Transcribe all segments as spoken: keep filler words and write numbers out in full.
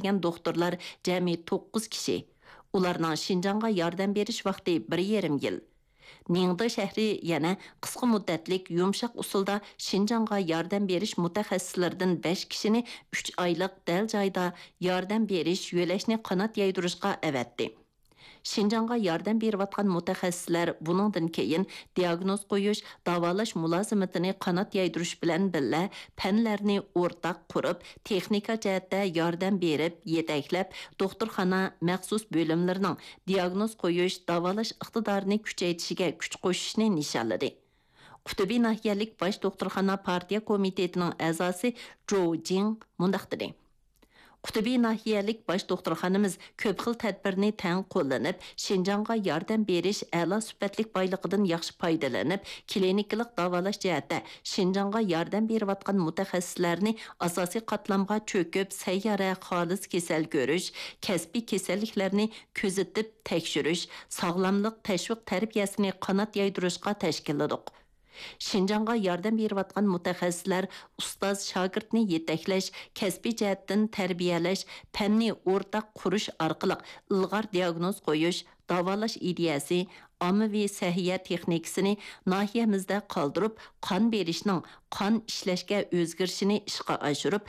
كەلگەن دوختۇرلار جەمئىي توققۇز كىشى. ئۇلارنىڭ شىنجاڭغا ياردەم بېرىش ۋاقتى بىر يېرىم يىل. نىڭدې شەھىرى يەنە قىسقا مۇددەتلىك يۇمشاق ئۇسۇلدا شىنجاڭغا ياردەم بېرىش مۇتەخەسسىسلىرىدىن بەش كىشىنى ئۈچ ئايلىق دەل جايىدا ياردەم بېرىش يۆلەشنى قانات يايدۇرۇشقا ئەۋەتتى. شىنجاڭغا ياردەم بېرىۋاتقان مۇتەخەسسىسلەر بۇنىڭدىن كېيىن دىياگنوز قويۇش، داۋالاش مۇلازىمىتىنى قانات يايدۇرۇش بىلەن بىللە، پەنلەرنى ئورتاق قۇرۇپ، تېخنىكا جەھەتتە ياردەم بېرىپ، يېتەكلەپ، دوختۇرخانا مەخسۇس بۆلۈملىرىنىڭ دىياگنوز قويۇش، داۋالاش ئىقتىدارىنى كۈچەيتىشىگە كۈچ قوشۇشنى نىشانلىدى. قۇتبى ناھىيەلىك باش دوختۇرخانا پارتىيە كومىتېتىنىڭ ئەزاسى جوۋ جىڭ مۇنداق دېدى: قۇتبى ناھىيەلىك باش دوختۇرخانىمىز كۆپ خىل تەدبىرنى تەڭ قوللىنىپ، شىنجاڭغا ياردەم بېرىش ئەلا سۈپەتلىك بايلىقىدىن ياخشى پايدىلىنىپ، كلىنىكىلىق داۋالاش جەھەتتە شىنجاڭغا ياردەم بېرىۋاتقان مۇتەخەسسىسلەرنى ئاساسىي قاتلامغا چۆكۈپ، سەييارە، خالىس كېسەل كۆرۈش، كەسپىي كېسەللىكلەرنى كۆزىتىپ تەكشۈرۈش، ساغلاملىق تەشۋىق تەربىيەسىنى قانات يايدۇرۇشقا تەشكىللىدۇق. شىنجاڭغا ياردەم بېرىۋاتقان مۇتەخەسسىسلەر ئۇستاز شاگىرتنى يېتەكلەش، كەسپىي جەھەتتىن تەربىيەلەش، پەننى ئورتاق قۇرۇش ئارقىلىق ئىلغار دىياگنوز قويۇش، داۋالاش ئىدىيەسى، ئاممىۋى سەھىيە تېخنىكىسىنى ناھىيەمىزدە قالدۇرۇپ، قان بېرىشنىڭ قان ئىشلەشكە ئۆزگىرىشىنى ئىشقا ئاشۇرۇپ،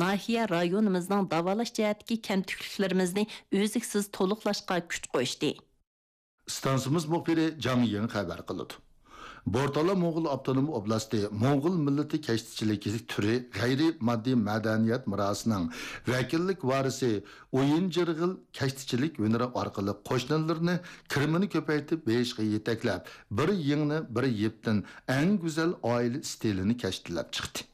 ناھىيە رايونىمىزنىڭ داۋالاش جەھەتتىكى كەمتۈكلۈكلىرىمىزنى ئۈزلۈكسىز تولۇقلاشقا كۈچ قوشتى. ئىستانسىمىز مۇخبىرى جاڭ يىڭ خەۋەر قىلىدۇ. بورتالا موڭغۇل ئاپتونوم ئوبلاستى موڭغۇل مىللىتى كەشتىچىلىكى تۈرى غەيرىي ماددىي مەدەنىيەت مىراسىنىڭ ۋەكىللىك ۋارىسى ئويۇن جىرغىل كەشتىچىلىك ھۈنىرى ئارقىلىق قوشنىلىرىنى كىرىمىنى كۆپەيتىپ بېيىشقا يېتەكلەپ، بىر يىڭنە بىر يىپتىن ئەڭ گۈزەل ئائىلە ئىستىلىنى كەشتىلەپ چىقتى.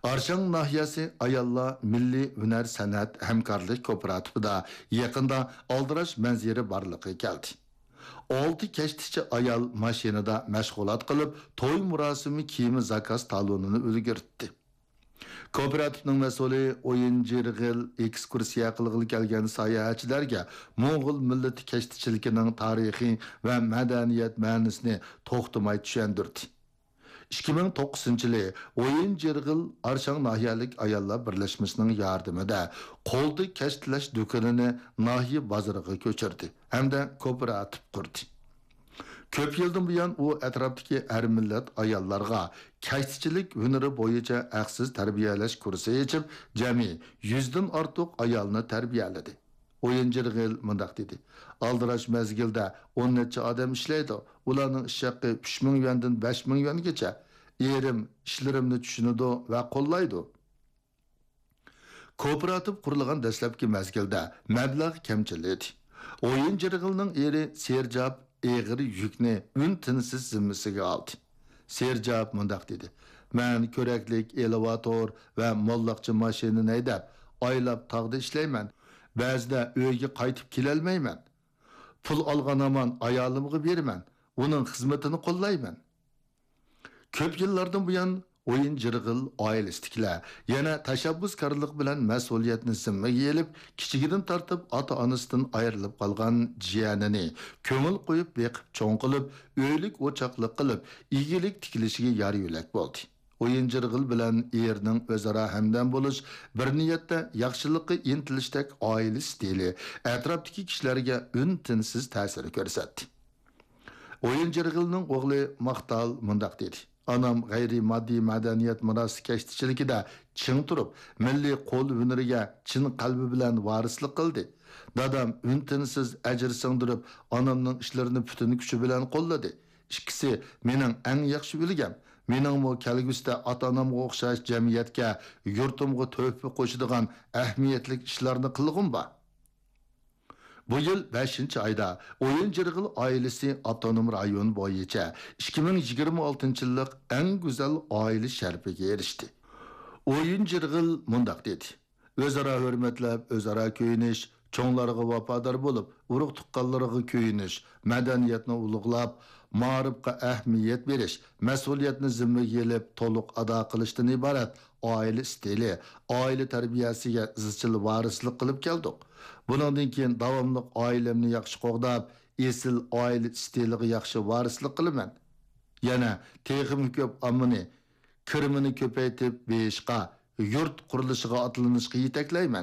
ئارشاڭ ناھىيەسى ئاياللار مىللىي ھۈنەر سەنئەت ھەمكارلىق كوپىراتىپىدا يېقىندا ئالدىراش مەنزىرە بارلىققا كەلدى. ئالتە كەشتىچى ئايال ماشىنىدا مەشغۇلات قىلىپ، توي مۇراسىمى كىيىمى زاكاز تالونىنى ئۈلگۈرتتى. كوپىراتىپنىڭ مەسئۇلى ئويۇن جىرغىل ئېكسكۇرسىيە قىلغىلى كەلگەن ساياھەتچىلەرگە موڭغۇل مىللىتى كەشتىچىلىكىنىڭ تارىخى ۋە مەدەنىيەت مەنىسىنى توختىماي چۈشەندۈردى. ئىككى مىڭ توققۇزىنچى يىلى ئويۇن جىرغىل ئارشاڭ ناھىيەلىك ئاياللار بىرلەشمىسىنىڭ ياردىمىدە قولدا كەشتىلەش دۇكىنىنى ناھىيە بازىرىغا كۆچۈردى ھەمدە كوپىراتىپ قۇردى. كۆپ يىلدىن بۇيان ئۇ ئەتراپتىكى ھەر مىللەت ئاياللارغا كەشتىچىلىك ھۈنىرى بويىچە ھەقسىز تەربىيەلەش كۇرسى ئېچىپ، جەمئىي يۈزدىن ئارتۇق ئايالنى تەربىيەلىدى. ئويۇن جىرغىل مۇنداق دېدى: ئالدىراش مەزگىلدە ئون نەچچە ئادەم ئىشلەيدۇ. ئۇلارنىڭ ئىش ھەققى ئۈچ مىڭ يۈەندىن بەش مىڭ يۈەنگىچە. ئېرىم ئىشلىرىمنى چۈشىنىدۇ ۋە قوللايدۇ. كوپىراتىپ قۇرۇلغان دەسلەپكى مەزگىلدە مەبلەغ كەمچىل ئىدى. ئويۇن جىرغىلنىڭ ئېرى سېرجاپ ئېغىر يۈكنى ئۈن-تىنسىز زىممىسىگە ئالدى. سېرجاپ مۇنداق دېدى: مەن كۆرەكلىك ئېلېۋاتور ۋە موللاقچە ماشىنىنى ھەيدەپ، ئايلاپ تاغدا ئىشلەيمەن. بەزىدە ئۆيگە قايتىپ كېلەلمەيمەن. پۇل ئالغان ھامان ئايالىمغا بېرىمەن، ئۇنىڭ خىزمىتىنى قوللايمەن. كۆپ يىللاردىن بۇيان ئويۇن جىرغىل ئائىلىسىدىكىلەر يەنە تەشەببۇسكارلىق بىلەن مەسئۇلىيەتنى زىممىگە ئېلىپ، كىچىكىدىن تارتىپ ئاتا-ئانىسىدىن ئايرىلىپ قالغان جىيەنىنى كۆڭۈل قويۇپ بېقىپ چوڭ قىلىپ، ئۆيلۈك-ئوچاقلىق قىلىپ، ئىگىلىك تىكلىشىگە يار-يۆلەك بولدى. ئويۇن جىرغىل بىلەن ئېرىنىڭ ئۆزئارا ھەمدەم بولۇش، بىر نىيەتتە ياخشىلىققا ئىنتىلىشتەك ئائىلە ئىستىلى ئەتراپتىكى كىشىلەرگە ئۈن-تىنسىز تەسىر كۆرسەتتى. ئويۇن جىرغىلنىڭ ئوغلى ماختال مۇنداق دېدى: ئانام غەيرىي ماددىي مەدەنىيەت مىراسى كەشتىچىلىكىدە چىڭ تۇرۇپ، مىللىي قول ھۈنىرىگە چىن قەلبى بىلەن ۋارىسلىق قىلدى. دادام ئۈن-تىنسىز ئەجىر سىڭدۈرۈپ، ئانامنىڭ ئىشلىرىنى پۈتۈن كۈچى بىلەن قوللىدى. ئىككىسى مېنىڭ ئەڭ ياخشى ئۈلگەم. مېنىڭمۇ كەلگۈسىدە ئاتا-ئانامغا ئوخشاش جەمئىيەتكە، يۇرتۇمغا تۆھپە قوشىدىغان ئەھمىيەتلىك ئىشلارنى قىلغۇم بار. بۇ يىل بەشىنچى ئايدا ئويۇن جىرغىل ئائىلىسى ئاپتونوم رايون بويىچە ئىككى مىڭ يىگىرمە ئالتىنچى يىللىق ئەڭ گۈزەل ئائىلە شەرىپىگە ئېرىشتى. ئويۇن جىرغىل مۇنداق دېدى: ئۆزئارا ھۆرمەتلەپ، ئۆزئارا كۆيۈنۈش، چوڭلارغا ۋاپادار بولۇپ، ئۇرۇق-تۇغقانلىرىغا كۆيۈنۈش، مەدەنىيەتنى ئۇلۇغلاپ، مائارىپقا ئەھمىيەت بېرىش، مەسئۇلىيەتنى زىممىگە ئېلىپ، تولۇق ئادا قىلىشتىن ئىبارەت ئائىلە ئىستىلى، ئائىلە تەربىيەسىگە ئىزچىل ۋارىسلىق قىلىپ كەلدۇق. بۇنىڭدىن كېيىن داۋاملىق ئائىلەمنى ياخشى قوغداپ، ئېسىل ئائىلە ئىستىلىغا ياخشى ۋارىسلىق قىلىمەن. يەنە تېخىمۇ كۆپ ئاممىنى كىرىمىنى كۆپەيتىپ بېيىشقا يۇرت قۇرۇلۇشىغا ئاتلىنىشقا يېتەكلەيمەن.